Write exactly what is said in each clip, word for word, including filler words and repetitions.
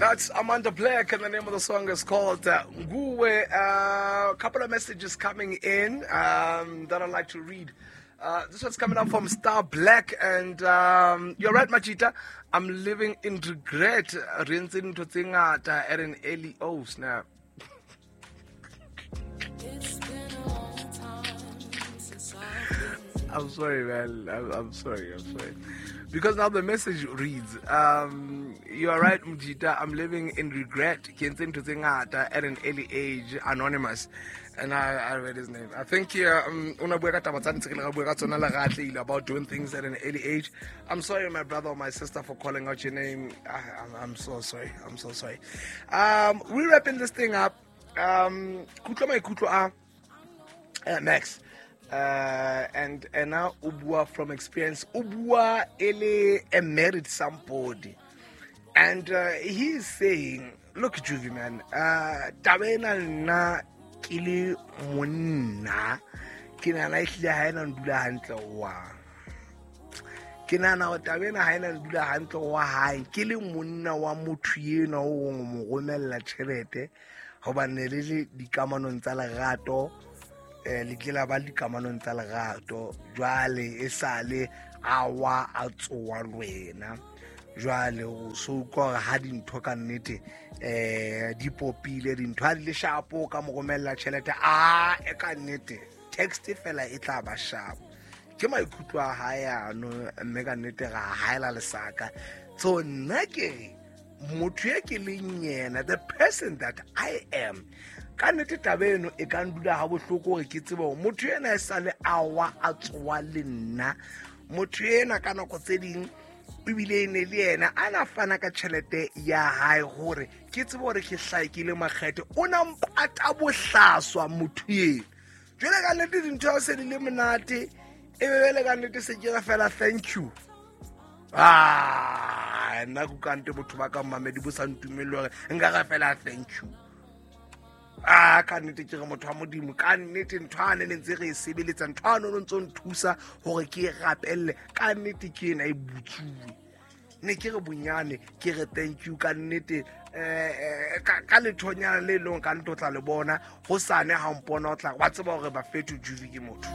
That's Amanda Black, and the name of the song is called uh, Nguwe. A uh, couple of messages coming in um, that I'd like to read. Uh, this one's coming up from Star Black, and um, you're right, Machita. I'm living in regret. At an early oh snap. I'm sorry, man. I'm, I'm sorry. I'm sorry. Because now the message reads, um, you are right, Mjita, I'm living in regret. At an early age, anonymous. And I, I read his name. I think here, um, about doing things at an early age. I'm sorry, my brother or my sister, for calling out your name. I, I'm, I'm so sorry. I'm so sorry. Um, we're wrapping this thing up. Um, Max. Uh, and and now Ubua from experience, Ubua ele a married somebody, and uh, he's saying, "Look, Juvie man, uh, taba ena nna ke le monna, ke nahana ehlile ha ena ndula hantle wa. Ke nahana hore taba ena ha ena ndula hantle wa hae, ke le monna wa motho enwa o mo romella tjhelete hobane le le dikamanong tsa lerato." Le kile ba dikamanong tsa lerato jwale e sale a wa a tsoa le wena jwale o so utlwa hore ha dintho ka nnete eh di popile dintho ha di le shapo ka mo romella tjhelete a e ka nnete text fela e tla ba shapo ke maikutlo a hae ano mme ka nnete ga haela lesaka. So nna ke motho e ke leng yena, the person that I am, ka nnete taba eno e ka ndula ha bohloko hore ke tsebe hore motho ena e sale a wa a tsoa le nna, motho ena ka nako tse ding ebile e ne le yena a na fana ka tjhelete ya hae hore ke tsebe hore ke hlakile makgethe, o na mpata bohlaswa motho eno. Jwale ka nnete dintho ha se di le monate e be le ka nnete se ke re fela thank you. Ah, nna ko kante botho ba ka mmamedi bo sa ntumelle hore nka re fela thank you. Ah, ka nnete ke re motho wa Modimo, ka nnete ntho a ne ntse re e sebeletsa, ntho a no ntse nthusa hore ke e rapelle, ka nnete ke ena e butsuwe. Ne ke re bonyane ke re thank you ka nnete eh ka lethonyana le leng ka ntho tla le bona ho sane ha mpona o tla ba tseba hore ba fetho Juvie ke motho.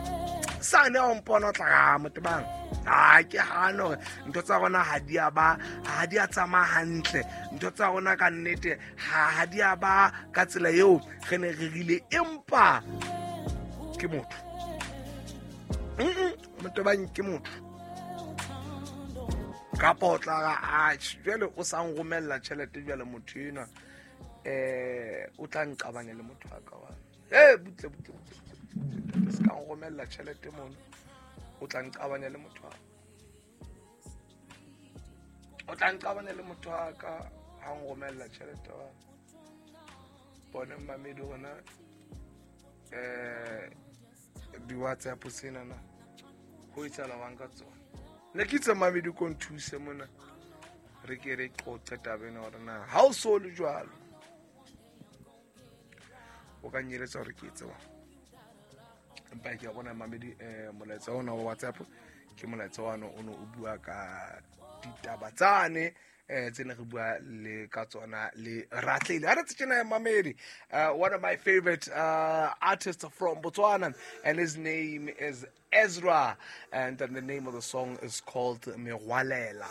Sane ha mpona o tla ga motho bang. Ah, ke hano hore ntho tsa rona ha di a ba ha di a tsamaya hantle, ntho tsa rona ka nnete ha di a ba ka tsela eo re ne re rile, empa ke motho. Mm motho bang ke motho. Kapa o tla ra a jwale o sa nromella tjhelete jwale motho enwa eh o tla nqabanya le motho wa ka wa. Eh butle butle butle se ka nromella tjhelete mono, o tla nqabanya le motho wa. O tla nqabanya le motho wa ka ha nromella tjhelete wa. Bone mmamedi rona eh di WhatsApp sena na ho itsala wang ka tsona. Ne ke itse mmamedi ko nthuse mona re ke re qoqe taba ena hore na ha o so le jwalo o ka nyeletsa hore ke etse wa. Empa ke a bona mmamedi eh molaetsa ona wa WhatsApp ke molaetsa wa no o no o bua ka ditaba tsane eh tse ne re bua le ka tsona le Ratlile. Ha re tsena mmamedi, one of my favorite uh, artists from Botswana, and his name is Ezra, and then the name of the song is called Merwalela.